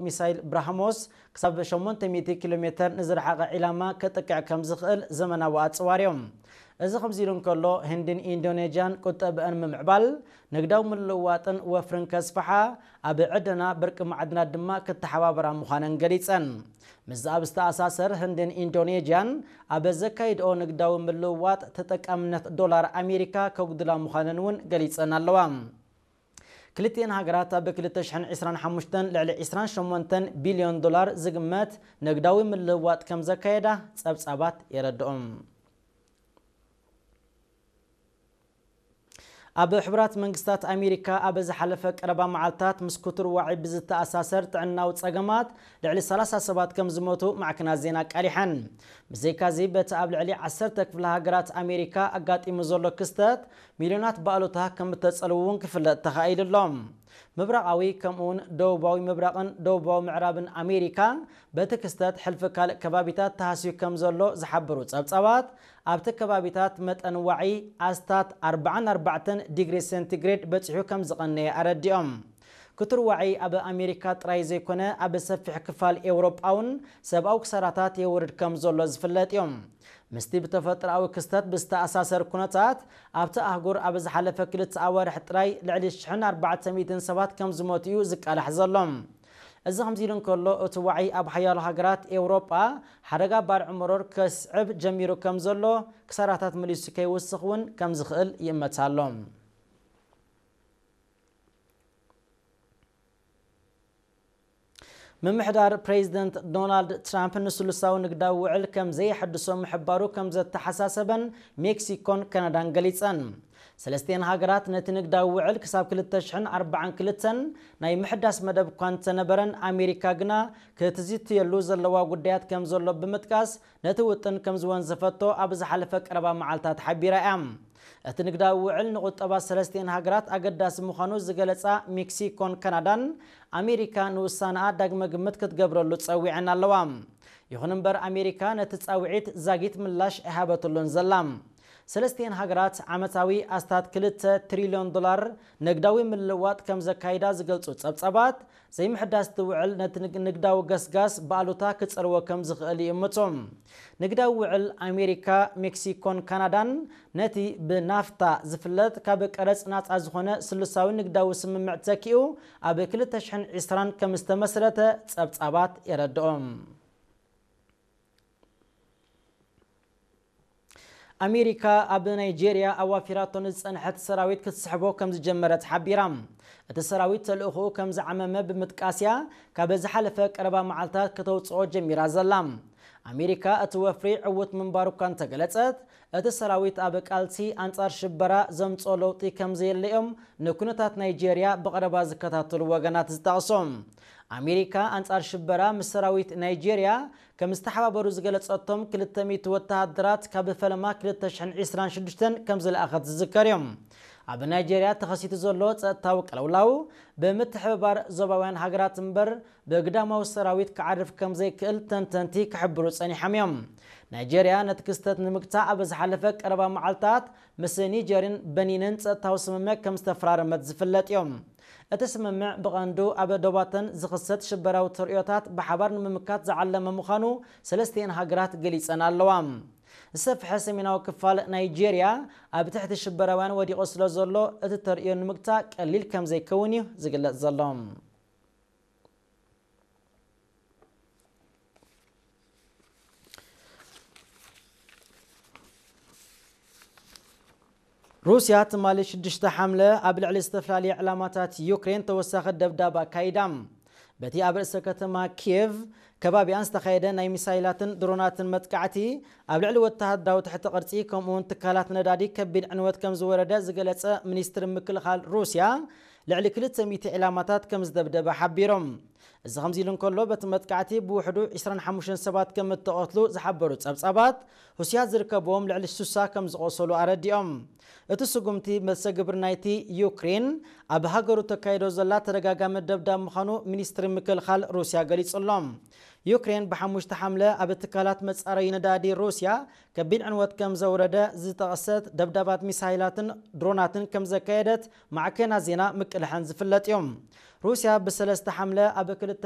ሚሳይል ብራህሞስ ክሳብ ሸሞንተ ሚእቲ ኪሎ ሜተር ንዝረሓቐ ዒላማ ከጥቅዕ ከም ዝኽእል ዘመናዊ ኣጽዋር እዮም። እዚ ከምዚ ኢሉ እንከሎ፣ ህንድን ኢንዶኔዥያን ቁጠብአን ምምዕባል፣ ንግዳዊ ምልውዋጥን ወፍርን ከስፍሓ፣ ኣብ ዕደና በርቂ ማዕድናት ድማ ክተሓባበራ ምዃነን ገሊጸን። ምስዚ ኣብ ዝተኣሳሰር፣ ህንድን ኢንዶኔዥያን ኣብ ዘካይድኦ ንግዳዊ ምልውዋጥ ተጠቃምነት ዶላር ኣሜሪካ ከጉድላ ምዃነን እውን ገሊጸን ኣለዋ። ክልቲኤን ሃገራት ኣብ ክልተ ሽሕን ዕስራን ሓሙሽተን ልዕሊ ዕስራን ሸሞንተን ቢልዮን ዶላር ዝግመት ንግዳዊ ምልውዋጥ ከም ዘካየዳ ጸብጻባት የረድኦም። ኣብ ሕቡራት መንግስታት ኣሜሪካ ኣብ ዝሓለፈ ቀረባ መዓልታት ምስ ክቱር ዋዒ ብዝተኣሳሰር ጥዕናዊ ጸገማት ልዕሊ ሰላሳ ሰባት ከም ዝሞቱ ማዕከናት ዜና ኣቃሊሐን። ብዘይካዚ፣ በቲ ኣብ ልዕሊ ዓሰርተ ክፍለ ሃገራት ኣሜሪካ ኣጋጢሙ ዘሎ ክስተት፣ ሚልዮናት ባእሉታ ከም እተጸልዉ እውን ክፍለጥ ተኻኢሉ ኣሎ። ምብራቓዊ፣ ከምኡውን ደቡባዊ ምብራቕን ደቡባዊ ምዕራብን ኣሜሪካ፣ በቲ ክስተት ሕልፊ ካልእ ከባቢታት ተሃስዩ ከም ዘሎ ዝሓበሩ ጸብጻባት፣ ኣብቲ ከባቢታት መጠን ዋዒ ኣስታት ኣርባዓን ኣርባዕተን ዲግሪ ሴንቲግሬድ በጺሑ ከም ዝቐነየ ኣረዲኦም። ክቱር ዋዒ ኣብ ኣሜሪካ ጥራይ ዘይኮነ፣ ኣብ ሰፊሕ ክፋል ኤውሮጳ እውን ሰብኣዊ ክሳራታት የውርድ ከም ዘሎ ዝፍለጥ እዮም። ምስቲ ብተፈጥሮኣዊ ክስተት ብዝተኣሳሰር ኩነታት፣ ኣብቲ ኣህጉር ኣብ ዝሓለፈ ክልተ ኣዋርሕ ጥራይ ልዕሊ ሽሕን ኣርባዕተ ሚእትን ሰባት ከም ዝሞቱ እዩ ዝቃላሕ ዘሎ። እዚ ከምዚ ኢሉ እንከሎ፣ እቲ ዋዒ ኣብ ሓያሎ ሃገራት ኤውሮጳ ሓደጋ ባርዕ መሮር ከስዕብ ጀሚሩ ከም ዘሎ፣ ክሳራታት መሊሱ ከይውስኽ እውን ከም ዝኽእል ይእመት ኣሎ። ምምሕዳር ፕሬዚደንት ዶናልድ ትራምፕ ንስሉሳዊ ንግዳዊ ውዕል ከም ዘየሐድሶ ምሕባሩ ከም ዘተሓሳሰበን ሜክሲኮን ካናዳን ገሊጸን። ሰለስቲኤን ሃገራት ነቲ ንግዳዊ ውዕል ክሳብ ክልተ ሽሕን ኣርባዓን ክልተን ናይ ምሕዳስ መደብ እኳ እንተነበረን፣ ኣሜሪካ ግና ክትዝትየሉ ዘለዋ ጉዳያት ከም ዘሎ ብምጥቃስ፣ ነቲ ውጥን ከም ዝወንዘፈቶ ኣብ ዝሓለፈ ቀረባ መዓልታት ሓቢራ እያ። እቲ ንግዳዊ ውዕል ንቁጠባ ሰለስቲኤን ሃገራት ኣገዳሲ ምዃኑ ዝገለጻ ሜክሲኮን ካናዳን፣ ኣሜሪካ ንውሳነኣ ዳግመ ግምት ክትገብረሉ ጸዊዐን ኣለዋ። ይኹን እምበር፣ ኣሜሪካ ነቲ ጻውዒት ዛጊት ምላሽ ኣይሃበትሉን ዘላ። ሰለስቲኤን ሃገራት ዓመታዊ ኣስታት ክልተ ትሪልዮን ዶላር ንግዳዊ ምልውዋጥ ከም ዘካይዳ ዝገልጹ ጸብጻባት፣ ዘይምሕዳስ እቲ ውዕል ነቲ ንግ-፣ ንግዳዊ ገስጋስ ብኣሉታ ክጸልዎ ከም ዝኽእል ይእምቱ። ንግዳዊ ውዕል ኣሜሪካ፣ ሜክሲኮን ካናዳን ነቲ ብናፍታ ዝፍለጥ ካብ ቀረጽ ናጻ ዝኾነ ስሉሳዊ ንግዳዊ ስምምዕ ተኪኡ ኣብ ክልተ ሽሕን ዕስራን ከም ዝተመስረተ ጸብጻባት የረድኦም። ኣሜሪካ ኣብ ናይጄርያ ኣዋፊራቶ ንዝጸንሐት ሰራዊት ክትስሕቦ ከም ዝጀመረት ሓቢራ። እቲ ሰራዊት ተልእኾኡ ከም ዝዓመመ ብምጥቃስ እያ ካብ ዝሓለፈ ቀረባ መዓልታት ከተውጽኦ ጀሚራ ዘላ። ኣሜሪካ እቲ ወፍሪ ዕዉት ምንባሩ እኳ እንተገለጸት፣ እቲ ሰራዊት ኣብ ቃልሲ ኣንጻር ሽበራ ዘምጽኦ ለውጢ ከም ዘየለ እዮም ንኩነታት ናይጄርያ ብቐረባ ዝከታተሉ ወገናት ዝጠቕሱ። ኣሜሪካ ኣንጻር ሽበራ ምስ ሰራዊት ናይጄርያ ከም ዝተሓባበሩ ዝገለጸቶም ክልተ ሚእቲ ወተሃደራት ካብ ፈለማ ክልተ ሽሕን ዕስራን ሽዱሽተን ከም ዝለኣኸት ዝዝከር እዩ። ኣብ ናይጄርያ ተኸሲቱ ዘሎ ጸጥታዊ ቅልውላው ብምትሕብባር ዞባውያን ሃገራት እምበር ብግዳማዊ ሰራዊት ክዓርፍ ከም ዘይክእል ተንተንቲ ክሕብሩ ጸኒሖም እዮም። ናይጄርያ ነቲ ክስተት ንምግታእ ኣብ ዝሓለፈ ቀረባ መዓልታት ምስ ኒጀርን በኒንን ጸጥታዊ ስምምዕ ከም ዝተፈራረመት ዝፍለጥ እዮም። እቲ ስምምዕ ብቐንዱ ኣብ ዶባተን ዝኽሰት ሽበራዊ ተርእዮታት ብሓባር ንምምካት ዝዓለመ ምዃኑ ሰለስቲኤን ሃገራት ገሊጸን ኣለዋ። ዝሰፍሐ ሰሜናዊ ክፋል ናይጄርያ ኣብ ትሕቲ ሽበራውያን ወዲቑ ስለ ዘሎ፣ እቲ ተርእዮ ንምግታእ ቀሊል ከም ዘይከውን እዩ ዝግለጽ ዘሎ። ሩስያ ትማሊ ሽዱሽተ ሓምለ ኣብ ልዕሊ ዝተፈላለየ ዕላማታት ዩክሬን ተወሳኺ ደብዳብ ኣካይዳ። በቲ ኣብ ርእሰ ከተማ ኪየቭ ከባቢኣን ዝተኻየደ ናይ ሚሳይላትን ድሮናትን መጥቃዕቲ፣ ኣብ ልዕሊ ወተሃደራዊ ትሕቲ ቅርጺ ከምኡውን ትካላት ነዳዲ ከቢድ ዕንወት ከም ዝወረደ ዝገለጸ ሚኒስትሪ ምክልኻል ሩስያ፣ ልዕሊ ክልተ ሚእቲ ዕላማታት ከም ዝደብደበ ሓቢሮም። እዚ ከምዚ ኢሉ እንከሎ፣ በቲ መጥቃዕቲ ብውሕዱ ዕስራን ሓሙሽተን ሰባት ከም እተቐትሉ ዝሓበሩ ጸብጻባት፣ ሩስያ ዝርከብዎም ልዕሊ ስሳ ከም ዝቖሰሉ ኣረዲኦም። እቲ ስጉምቲ፣ መሰግብር ናይቲ ዩክሬን ኣብ ሃገሩ ተካይዶ ዘላ ተደጋጋሚ ደብዳብ ምዃኑ ሚኒስትሪ ምክልኻል ሩስያ ገሊጹ ኣሎ። ዩክሬን ብሓሙሽተ ሓምለ ኣብ ትካላት መጻረዪ ነዳዲ ሩስያ ከቢድ ዕንወት ከም ዘውረደ ዝጠቐሰት ደብዳባት ሚሳይላትን ድሮናትን ከም ዘካየደት ማዕከናት ዜና ምቅልሐን ዝፍለጥ እዩ። ሩስያ ብሰለስተ ሓምለ ኣብ ክልተ